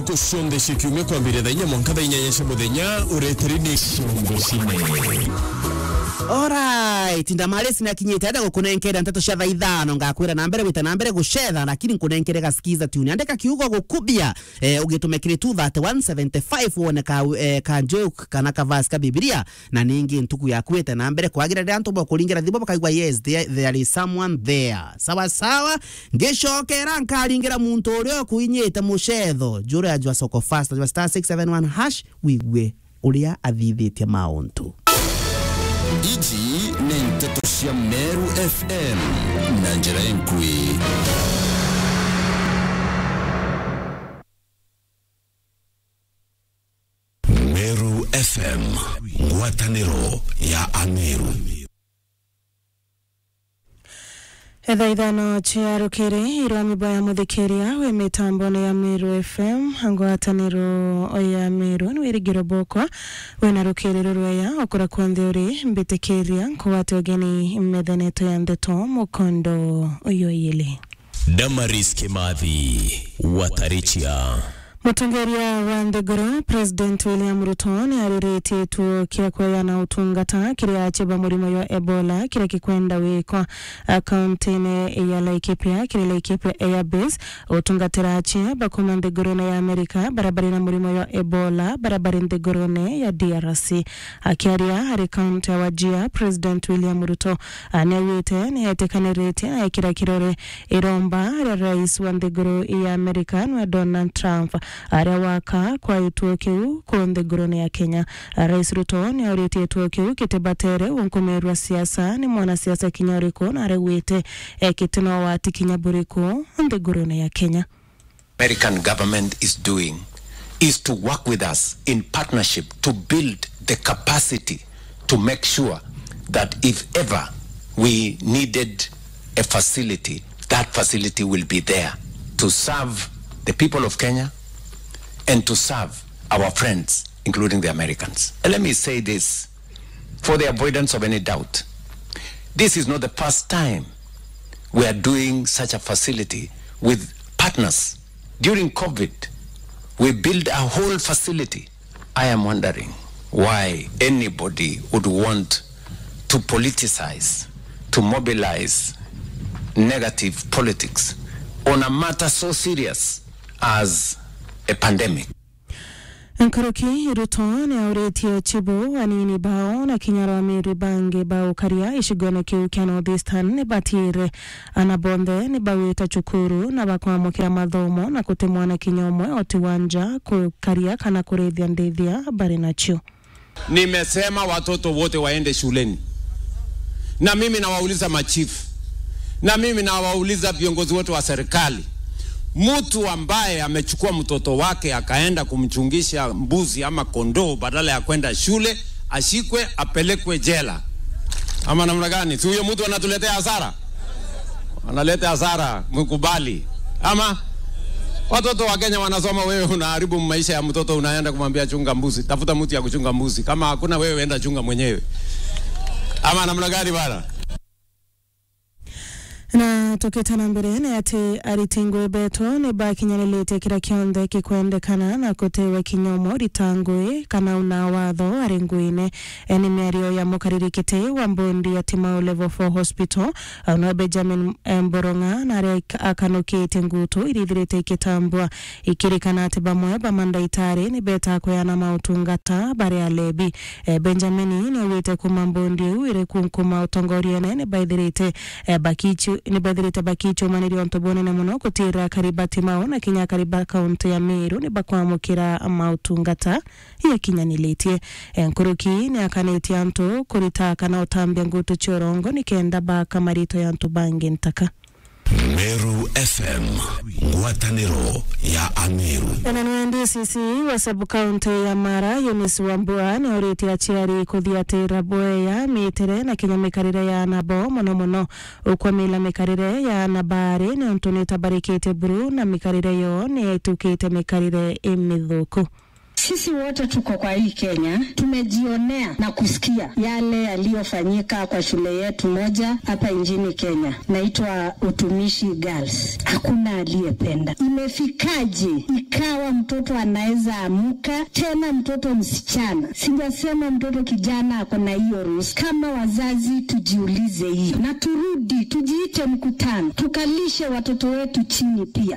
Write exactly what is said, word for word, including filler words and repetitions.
Ntuku cionthe cia kiumia kwambiria thaa inya mwanka thaa inyanya cia muthenya, ureteri ni Ciongo Cine. Alright, ndamari cinakinyite, enda gukunenkera nteto cia thaa ithano, ngakwira na mbere gwita na mbere gucetha, lakini nkunenkere ga skiza tune. Andika kiugo gukubia, eh, ugitume kiri two thirty one seventy five, wone ka, eh, ka joke kana ka verse ka Bibilia, na ningi ntuku yaku ite na mbere kwagira. Riria antu bakuringira thimu bakaigua, yes, there, there is someone there. Sawa sawa, ngicokera nkaringira muntu uria ukuinyite mucetho, jura ajwa soko fast, ajwa star six seven one hash, wigue uria athithitie mauntu. Iji ni nteto cia Meru F M na njira inkui. Meru F M, ngwataniro ya Ameru. Etha ithano cia rukiri, irwami bwa ya muthikiria wi mitambone ya Meru F M, ngwataniro ya Meru, ni wirigiro bwakwa wina rukiri rurweya okura kwonthe uri. Mbitikiria nkugwate ugeni metheneto ya ndeto mukondo uyu iyili. Damaris Kimathi, Watarichia. Mutongeria wa nthiguru, President William Ruto, ni ariritie gituo kia kweana utungata kiri achia ba murimo jwa Ebola, kiria gikwenda gwikwa, a, kauntine ya Laikipia, kiri Laikipia Air Base, gutungatira achia ba kuma nthigurune ya Amerika, baria bari na murimo jwa Ebola, baria bari nthigurune ya D R C. Akiaria ari kaunti ya Wajir, President William Ruto, a, ni augite ni etikaniritie na ekira kirore iromba ria rais wa nthiguru ya Amerika, nwe Donald Trump, aria waka kwa gituo kiu ku nthigurune ya Kenya. Rais Ruto ni auritie gituo kiu gitibatere unkumirwa siasa ni mwanasiasa kinya uriku, na araugite, e, giti na ugwati kinya buriku nthigurune ya Kenya. American government is doing is to work with us in partnership to build the capacity to make sure that if ever we needed a facility, that facility will be there to serve the people of Kenya and to serve our friends, including the Americans. And let me say this for the avoidance of any doubt. This is not the first time we are doing such a facility with partners. During COVID, we built a whole facility. I am wondering why anybody would want to politicize, to mobilize negative politics on a matter so serious as a pandemic. Nkuruki, Ruto ni auritie chibu, anini bao na kinya arwamiri bangi ba ukaria gicigone kiu kia North Eastern ni batiire ana bonthe ni bagwita cukuru na bakwamukira mathomo, na guti mwana kinya umwe uti wa nja kukaria kana kurithia ndithia bari nacio. Nimesema watoto wote waende shuleni. Na mimi nawauliza machifu. Na mimi nawauliza viongozi wote wa serikali. Mtu ambaye amechukua mtoto wake akaenda kumchungisha mbuzi ama kondoo badala ya kwenda shule, ashikwe, apelekwe jela. Ama namna gani? Si huyo mtu anatuletea hasara? Analeta hasara, mkubali. Ama watoto wa Kenya wanasoma, wewe unaharibu maisha ya mtoto, unaenda kumwambia, "Chunga mbuzi, tafuta mtu ya kuchunga mbuzi. Kama hakuna, wewe enda chunga mwenyewe." Ama namna gani bana? Na tukite na mbere, ni ati ariti ngui betu ni bakinyaniritie kira kionthe gikwendekana na gutewe kinya umwe urita ngui kana una watho ari nguine. E, ni miario ya mukariri kiti wa mbondi ya Timau Level four Hospital, au nwe Benjamin, e, Mboronga, na aria ik-, akanukitie ngutu iria ithirite ikitambua, ikirikana ati bamwe ba mandaitari ni beta kweana mautungata bari alebi. E, Benjamin ni augite kuma mbondi iu iri kunkuma utongoriene ni baithirite, e, bakichu-, ni baithirite bakichumaniria untu bunene muno gutira akari ba Timau na kinya akari ba kaunti ya Meru ni bakwamukira mautungata yakinyanilitie. E, nkuruki ni akanitie antu kurita kana utambia ngutu cia urongo nikenda baka marito ya antu bangi ntaka. Meru F M, ngwataniro ya Ameru. Ena nwe D C C wa sub-county ya Mara, Eunice Wambua, ni auritie aciari kuthiatira bweya, mitire na kinya mikarire ya ana bao, mono mono ukwamila mikarire ya ana baari, ni untu ni tabarikite buru na mikarire yoo ni itukite mikarire imithuku. Sisi wote tuko kwa hii Kenya, tumejionea na kusikia yale yaliyofanyika kwa shule yetu moja hapa nchini Kenya, naitwa Utumishi Girls. Hakuna aliyependa. Imefikaje ikawa mtoto anaweza amuka, tena mtoto msichana? Sijasema mtoto kijana ako na hiyo ruhusa. Kama wazazi, tujiulize hii na turudi tujiite mkutano, tukalishe watoto wetu chini pia.